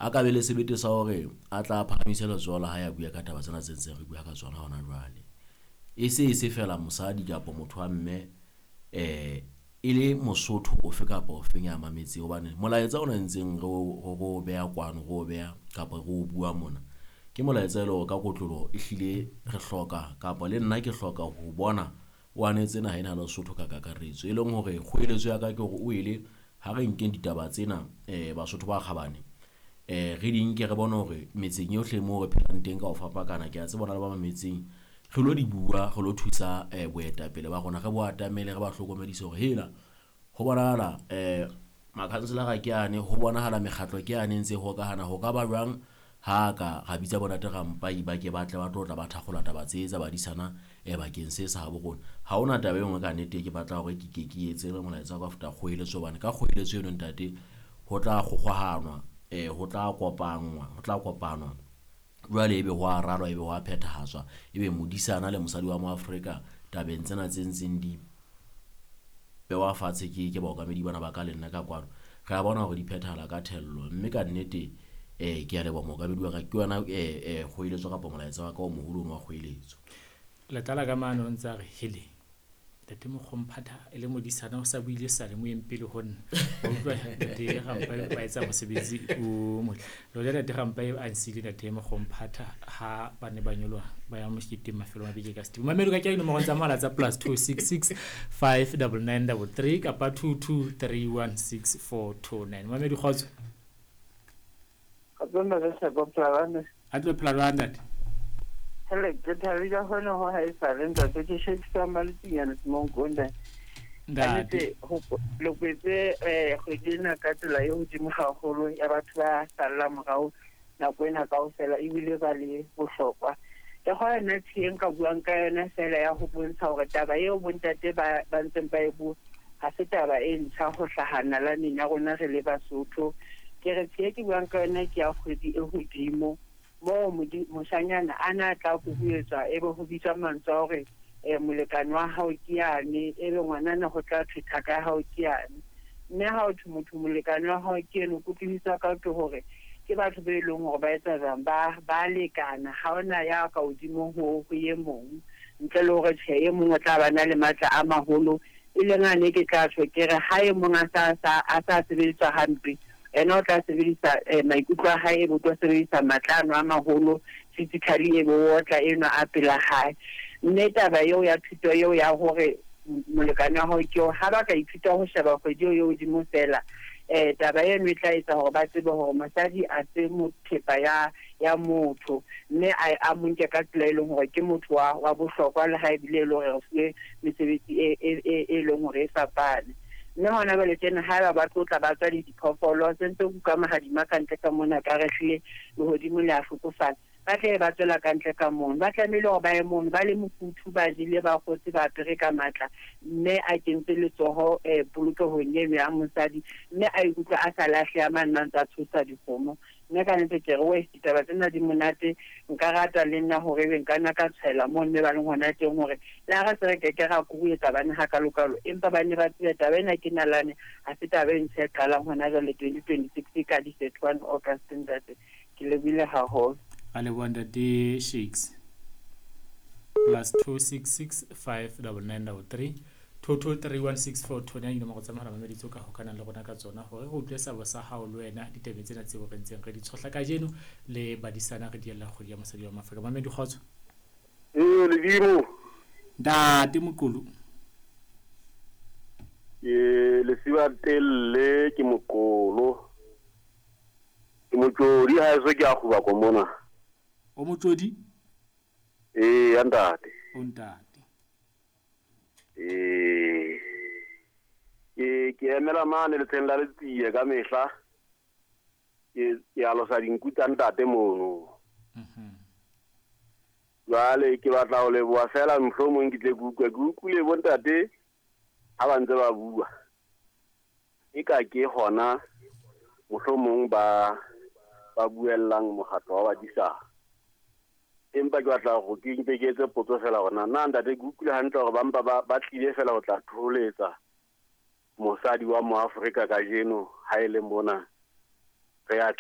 A ka be le sebete sa hore a tla phahamise letsoho la hae a bua ka taba tsena tse ntseng re bua ka tsona hona jwale. E se e se fela mosadi kapa motho wa mme e le Mosotho ofe kapa ofeng ya mametseng, hobane molaetsa ona ntseng re o beha kwano, re o beha kapa re o bua mona, ke molaetsa e le hore ka kotloloho ehlile re hloka kapa le nna ke hloka ho bona o anetse naha ena ya Lesotho ka kakaretso. E leng hore kgoeletso ya ka ke hore o ele ha re nkeng ditaba tsena Basotho ba kgabane, re di nke re bone hore metseng yohle moo re phelang teng ka ho fapakana, ke a tseba hona le ba mametseng, re lo di bua, re lo thusa boetapele ba rona, re bo atamele, re ba hlokomedise hore hela ho bonahala makhanselara ke ane, ho bonahala mekgatlo ke ane ntse e hokahana, ho ka ba jwang ha ka ra bitsa bontate Rampai ba ke ba tle ba tlo tla ba thakgola taba tse tsa badisana bakeng se sa habo rona. Ha hona taba e nngwe ka nnete ke batla hore ke ke ke etse le molaetsa wa ka feta kgoeletso, hobane ka kgoeletso eno ntate ho tla kgokgohanwa, ho tla kopanngwa, ho tla kopanwa jwale ebe ho a ralwa, ebe ho a phethahatswa, ebe modisana le mosadi wa Moafrika tabeng tsena tse ntseng di bewa fatshe ke baokamedi bana ba ka le nna ka kwano, re a bona hore di phethahala ka thello. Mme ka nnete ke a leboha mookamedi wa ka, ke yona kgoeletso kapa molaetsa wa ka o moholo ono wa kgoeletso. Letlala ka mane o ntse a re hele ntate Mokgomphatha e le modisana o sa buile sa le moyeng pele ho nna. Wa utlwa ntate Rampai ba etsa mosebetsi o motle. Le ntate Rampai a nsile ntate Mokgomphatha ha ba ne ba nyoloha ba ya moketeng mafelong a beke ka Setibo. Mamedi ka ke dinomoro tsa mohala tsa +266 59933 kapa 22316429. Mamedi kgotso. Kgotso ntate Tshepo Phalane. A tlo phela jwang ntate? Hele, ke thabile hona ho ha e sale ntate, ke shebisa maletsinyana Semonkong. Ntate. Le kwetse kgwedi ena ka tsela e hodimo haholo ya batho ba sallang morao nako ena kaofela, ebile ba le bohlokwa. Ke kgona nna tsheng ka buang ka yona fela ya ho bontsha hore taba eo bontate ba ntseng ba e bua ha se taba e ntjha ho hlaha nalaneng ya rona re le Basotho. Ke re tshe ke buang ka yona ke ya kgwedi e hodimo moo moshanyana a na tla kukuetswa ebe ho bitswa mantswe a hore molekane wa hao ke yane, ebe ngwanana ho tla thwe thaka ya hao ke yane. Mme ha ho thwe motho molekane wa hao ke eno, kutlwisiso ka ke hore ke batho be leng hore ba etsa jwang, ba lekana, ha hona ya ka hodimo ho e mong, ntle le hore tjhe e mong o tla ba na le matla a maholo, e leng ane ke tla tjho ke re ha e mong a sa sebediswa hampe, ena o tla sebedisa maikutlo a hae, ebe o tlo sebedisa matla ano a maholo physically, ebe o otla enwa a pela hae. Mme taba eo ya thuto eo ya hore molekane wa hao ke eo, ha ba ka ithuta ho sheba kgwedi eo e hodimo fela, taba eno e tla etsa hore ba tsebe hore mosadi a se mothepa ya motho, mme a mo nke ka tsela e leng hore ke motho wa bohlokwa, le ha ebile e le hore re fuwe mesebetsi e leng hore e fapane. Mme hona jwale tjena haeba ba tlotla ba tswa le diphoofolo, se ntse kuka mahadima ka ntle ka mona, ka re hlile lehodimo le a hlokofala, ba tle ba tswela ka ntle ka mono, ba tlamehile hore ba ye mono ba le mofuthu, ba jele, ba kgotse, ba apere ka matla, mme a kentse letsoho polokehong eno ya mosadi, mme a ikutlwa a sa lahleha mane a ntse a tshosa dikgomo. Mme ka nnete ke re, weh, ditaba tsena di monate, nka rata le nna hore ebe nka nna ka tshwela moo mme ba leng hona teng, hore le ha re se re keke ra kuruetsa bana hakalokalo, empa ba ne ba tsebe taba ena ke nalane, ha se taba e ntjha e qalang hona jwale 2026 ka di 31 August ntate. Ke lebohile haholo. A leboha ntate Shakes. +266 59933 22316429 dinomoro tsa mohala mamedi tseo ka hokanang le rona ka tsona hore re utlwe seabo sa hao le wena ditabeng tsena tseo re ntseng re di tshohla kajeno le badisana re diella kgwedi ya mosadi wa Maafrika. Mamedi kgotso. Ledimo. Ntate Moqolo. Ke Lesiba Telle, ke Moqolo. Ke motsodi ha eso ke a kguba ko mona. O motsodi? Ee, ntate. O ntate. Ke emela mane letsheng la Letsie ka mehla. Ke alosa dinku tsa ntate mono. Jwale ke batla ho leboha fela mohlomong ke tle ke utlwe, ke utlwile bo ntate ha ba ntse ba bua. E ka ke hona mohlomong ba buellang mokgatlo wa badisana. Empa ke batla hore ke mpe ke etse potso fela hore na ntate ke utlwile hantle hore ba mpa ba tlile fela ho tla thoholetsa mosadi wa Moafrika kajeno ha e le mona re a